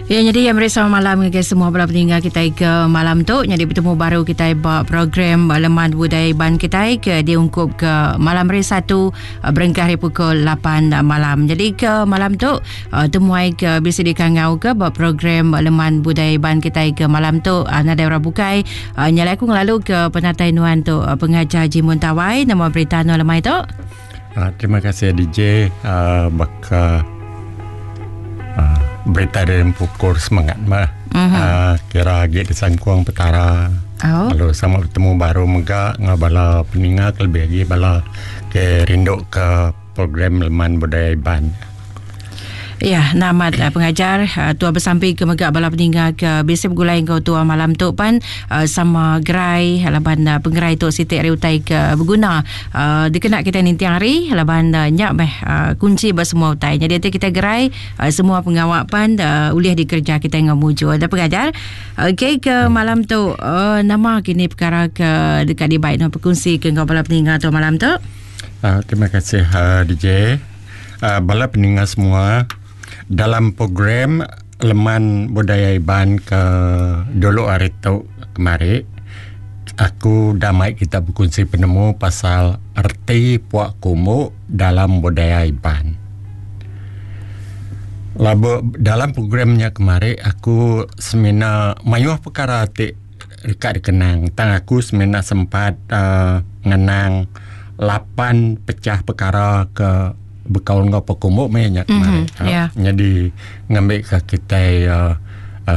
Ya nyadi meri selamat malam ngagai semua bala peninga kitai ke malam tu nyadi betemu baru kitai ba program Leman Budaya Iban kitai ke diungkup ke malam hari Satu eh, berengkah hari pukul 8 malam. Jadi ke malam tu eh, temuai ke bisi dikangau ke ba program Leman Budaya Iban kitai ke malam tu eh, nadai orang bukai nyalai aku ngelalu ke penatai nuan tu pengajar Jimun Tawai nama berita nuan lemai tu. Uh, terima kasih DJ uh, baka uh, berita dari pukul semangat mah. Uh-huh. Uh, kira agi disangkung petara. Oh. Lalu sama bertemu baru mega ngau bala peninga lebih lagi bala ke rindu ke program Leman Budaya Iban. Ya, namat uh, pengajar uh, tua besampi ke mega bala peninga ke bisi begulai enggau tua malam tu pan uh, sama gerai laban uh, pengerai tu siti ari utai ke beguna uh, dikena kita ninting hari laban uh, nya meh uh, kunci ba semua utai. Jadi enti kita gerai uh, semua pengawa pan uh, ulih dikereja kita enggau mujur. Da pengajar. Okey ke malam tu uh, nama kini perkara ke deka dibai nuan berkongsi ke enggau bala peninga tu malam tu? Uh, terima kasih uh, DJ. Bala peninga semua dalam program Leman Budaya Iban ke dulu hari tu kemari aku udah mai kita bekunsi penemu pasal reti pua kumbu dalam budaya Iban. Lalu dalam program nya kemari aku semina mayuh pekara ti deka dikenang tang aku semina sempat uhh ngenang lapan pecah pekara ke bekaul enggau pekumbu meh nya kemari. Mm-hmm. Yeah. Nyadi ngambika kitai uhh.